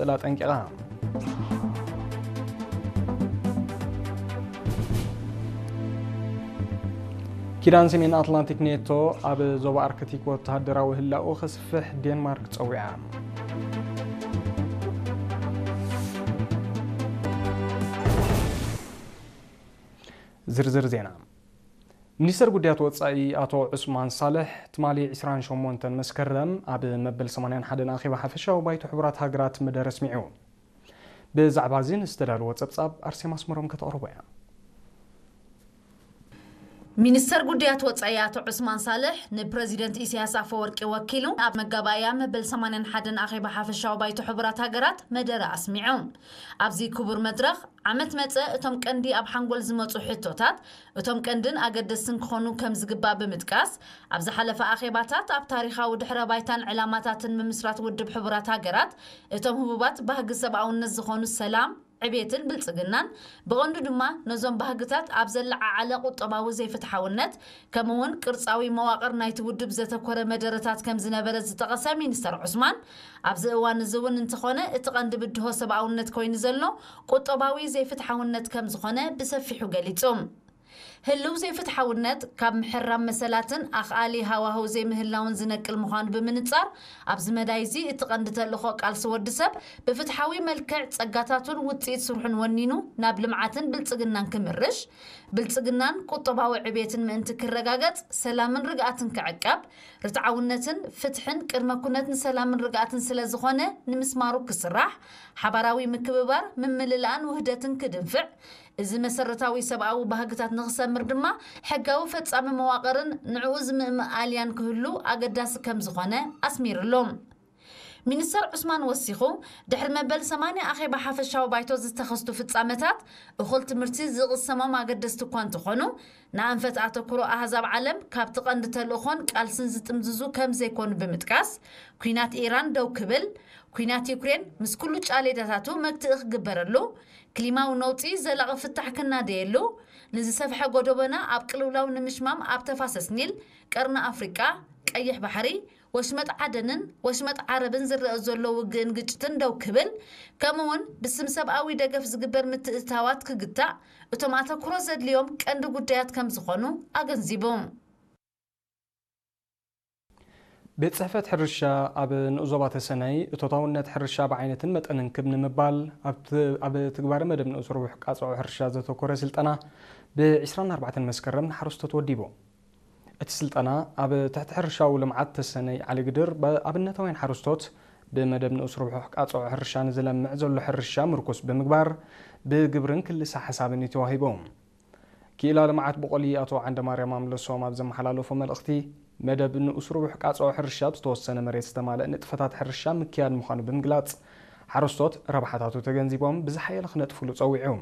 ክቕጽል ኣጠንቂቓ። ኪዳን ሰሜን ኣትላንቲክ ኔቶ ኣብ ዞባ ኣርክቲክ ወተሃደራዊ ህላኡ ከስፍሕ ዴንማርክ ጸዊዓ። ዝርዝር ዜና። ሚኒስተር ጉዳያት ወጻኢ ኣቶ ዑስማን ሳልሕ ትማሊ ዕስራን ሸሞንተን መስከረም ኣብ መበል ሰማንያን ሓደን ኣኼባ ሓፈሻዊ ባይቶ ሕቡራት ሃገራት መደረ ኣስሚዑ። ብዛዕባ እዚ ንዝተዳለወ ጸብጻብ ኣርሴማ ኣስመሮም ከተቕርቦ እያ። ሚኒስተር ጉዳያት ወጻኢ ኣቶ ዑስማን ሳልሕ ንፕረዚደንት ኢሳያስ ኣፈወርቂ ወኪሉ ኣብ መጋባእያ መበል ሰማንያን ሓደን ኣኼባ ሓፈሻዊ ባይቶ ሕቡራት ሃገራት መደረ ኣስሚዑ። ኣብዚ ክቡር መድረኽ ዓመት መጸ እቶም ቀንዲ ኣብ ሓንጎል ዝመጹ ሕቶታት፣ እቶም ቀንድን ኣገደስትን ክኾኑ ከም ዝግባእ ብምጥቃስ፣ ኣብ ዝሓለፈ ኣኼባታት ኣብ ታሪኻዊ ድሕረ ባይታን ዕላማታትን ምምስራት ውድብ ሕቡራት ሃገራት፣ እቶም ህቡባት ባህጊ ሰብኣውነት ዝኾኑ ሰላም፣ ዕቤትን ብልጽግናን፣ ብቐንዱ ድማ ነዞም ባህግታት ኣብ ዘለዓዓለ ቁጠባዊ ዘይፍትሓውነት፣ ከምኡውን ቅርጻዊ መዋቕር ናይቲ ውድብ ዘተኮረ መደረታት ከም ዝነበረ ዝጠቐሰ ሚኒስተር ዑስማን፣ ኣብዚ እዋን እዚ እውን እንተኾነ እቲ ቀንዲ ብድሆ ሰብኣውነት ኮይኑ ዘሎ ቁጠባዊ ዘይፍትሓውነት ከም ዝኾነ ብሰፊሑ ገሊጹ። ህልው ዘይፍትሓውነት ካብ ምሕራም መሰላትን ኣኽኣሊ ሃዋህው ዘይምህላውን ዝነቅል ምዃኑ ብምንጻር፣ ኣብዚ መዳይ እዚ እቲ ቀንዲ ተልእኾ ቃልሲ ወዲ ሰብ ብፍትሓዊ መልክዕ ጸጋታቱን ውጽኢት ስርሑን ወኒኑ ናብ ልምዓትን ብልጽግናን ክምርሽ፣ ብልጽግናን ቁጠባዊ ዕቤትን ምእንቲ ክረጋገጽ፣ ሰላምን ርግኣትን ክዕቀብ፣ ርትዓውነትን ፍትሕን ቅድመ ኩነት ንሰላምን ርግኣትን ስለ ዝኾነ ንምስማሩ ክስራሕ፣ ሓባራዊ ምክብባር፣ ምምልላእን ውህደትን ክድንፍዕ፣ እዚ መሰረታዊ ሰብኣዊ ባህግታት ንኽሰምር ድማ ሕጋዊ ፈጻሚ መዋቕርን ንዕኡ ዝምእምእ ኣልያን ክህሉ ኣገዳሲ ከም ዝኾነ ኣስሚርሉ። ሚኒስተር ዑስማን ወሲኹ፣ ድሕሪ መበል ሰማንያ ኣኼባ ሓፈሻዊ ባይቶ ዝተኸስቱ ፍጻመታት እኹል ትምህርቲ ዝቕሰሞም ኣገደስቲ እኳ እንተኾኑ፣ ንኣንፈት ኣተኩሮ ኣህዛብ ዓለም ካብቲ ቀንዲ ተልእኾን ቃልስን ዝጥምዝዙ ከም ዘይኮኑ ብምጥቃስ፣ ኲናት ኢራን ደው ክብል፣ ኲናት ዩክሬን ምስ ኩሉ ጫሌዳታቱ መግትኢ ክግበረሉ፣ ክሊማዊ ነውጺ ዘላቒ ፍታሕ ክናደየሉ፣ ንዝሰፍሐ ጎደቦና ኣብ ቅልውላው ንምሽማም ኣብ ተፋሰስ ኒል፣ ቀርኒ ኣፍሪቃ፣ ቀይሕ ባሕሪ፣ ወሽመጥ ዓደንን ወሽመጥ ዓረብን ዝረአ ዘሎ ውግእን ግጭትን ደው ክብል፣ ከምኡውን ብስም ሰብኣዊ ደገፍ ዝግበር ምትእትታዋት ክግታእ፣ እቶም ኣተኩሮ ዘድልዮም ቀንዲ ጉዳያት ከም ዝኾኑ ኣገንዚቡ። ቤት ጽሕፈት ሕርሻ ኣብ ንኡስ ዞባ ተሰነይ እቶታውነት ሕርሻ ብዓይነትን መጠንን ክብ ንምባል ኣብ ት-፣ ኣብ ትግባረ መደብ ንኡስ ርቡሕ ቃጽዖ ሕርሻ ዘተኮረ ስልጠና ብ ዕስራን ኣርባዕተን መስከረም ንሓረስቶት ወዲቡ። እቲ ስልጠና ኣብ ትሕቲ ሕርሻዊ ልምዓት ተሰነይ ዓሊግድር ብኣብነታውያን ሓረስቶት ብመደብ ንኡስ ርቡሕ ቃጽዖ ሕርሻ ንዝለምዕ ዘሎ ሕርሻ ምርኩስ ብምግባር ብግብርን ክልሰ ሓሳብን እዩ ተዋሂቡ። ክኢላ ልምዓት ብቆሊ ኣቶ ዓንደማርያም ኣምለሶም ኣብ ዘመሓላለፎ መልእኽቲ፣ መደብ ንኡስ ርቡሕ ቃጽዖ ሕርሻ ኣብ ዝተወሰነ መሬት ዝተማልአ ንጥፈታት ሕርሻ ምክያድ ምዃኑ ብምግላጽ፣ ሓረስቶት ረብሓታቱ ተገንዚቦም ብዝሓየለ ክነጥፍሉ ጸዊዑ።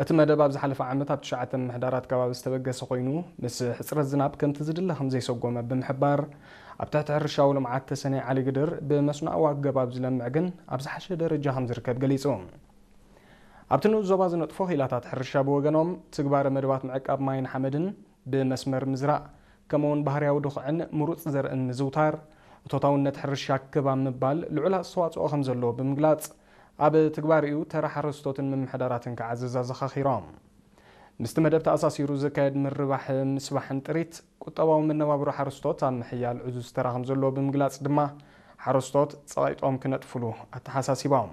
እቲ መደብ ኣብ ዝሓለፈ ዓመት ኣብ ትሽዓተ ምምሕዳራት ከባቢ ዝተበገሰ ኮይኑ፣ ምስ ሕጽረት ዝናብ ከምቲ ዝድለ ከም ዘይሰጎመ ብምሕባር፣ ኣብ ትሕቲ ሕርሻዊ ልምዓት ተሰነይ ዓሊግድር ብመስኖኣዊ ኣገባብ ዝለምዕ ግን ኣብ ዝሓሸ ደረጃ ከም ዝርከብ ገሊጹ። ኣብቲ ንኡስ ዞባ ዝነጥፎ ክኢላታት ሕርሻ ብወገኖም፣ ትግባረ መደባት ምዕቃብ ማይን ሓመድን፣ ብመስመር ምዝራእ፣ ከምኡውን ባህርያዊ ድኹዕን ምሩጽ ዘርእን ምዝውታር፣ እቶታውነት ሕርሻ ክብ ኣብ ምባል ልዑል ኣስተዋጽኦ ከም ዘለዎ ብምግላጽ፣ ኣብ ትግባሪኡ ተራ ሓረስቶትን ምምሕዳራትን ክዓዝዝ ኣዘኻኺሮም። ምስቲ መደብ ተኣሳሲሩ ዝካየድ ምርባሕ ምስባሕን ጥሪት ቁጠባዊ መነባብሮ ሓረስቶት ኣብ ምሕያል ዕዙዝ ተራ ከም ዘለዎ ብምግላጽ ድማ፣ ሓረስቶት ጸቒጦም ክነጥፍሉ ኣተሓሳሲቦም።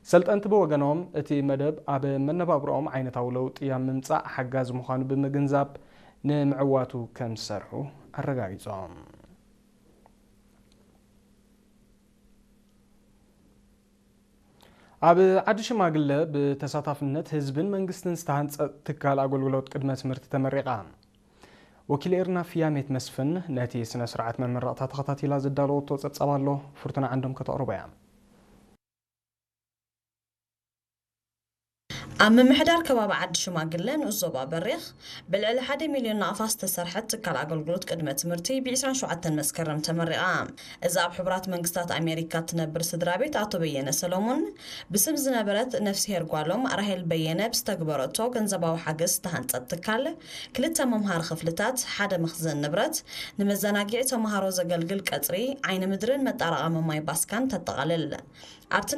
ሰልጠንቲ ብወገኖም፣ እቲ መደብ ኣብ መነባብሮኦም ዓይነታዊ ለውጢ ኣብ ምምጻእ ሓጋዚ ምዃኑ ብምግንዛብ፣ ንምዕዋቱ ከም ዝሰርሑ ኣረጋጊጾም። ኣብ ዓዲ ሽማግለ ብተሳታፍነት ህዝብን መንግስትን ዝተሃንጸ ትካል ኣገልግሎት ቅድመ ትምህርቲ ተመሪቓ። ወኪል ኤርና ፍያሜት መስፍን ነቲ ስነ ስርዓት መመረቕታ ተኸታቲላ ዘዳለወቶ ጸብጻብ ኣሎ፣ ፍርቱና ዓንዶም ከተቕርቦ እያ። ኣብ ምምሕዳር ከባቢ ዓዲ ሽማግለ ንኡስ ዞባ በሪኽ ብልዕሊ ሓደ ሚልዮን ናቕፋ ዝተሰርሐት ትካል ኣገልግሎት ቅድመ ትምህርቲ ብ ዕስራን ሸውዓተን መስከረም ተመሪቓ። እዛ ኣብ ሕቡራት መንግስታት ኣሜሪካ እትነብር ስድራ ቤት ኣቶ በየነ ሰሎሞን ብስም ዝነበረት ነፍስሄር ጓሎም ራሄል በየነ ብዝተግበረቶ ገንዘባዊ ሓገዝ ዝተሃንጸት ትካል ክልተ መምሃሪ ክፍልታት፣ ሓደ መኽዘን ንብረት፣ ንመዘናግዒ ተምሃሮ ዘገልግል ቀጽሪ፣ ዓይኒ ምድርን መጣራቐሚ ማይ ባስካን ተጠቓልል። ኣብቲ ናይ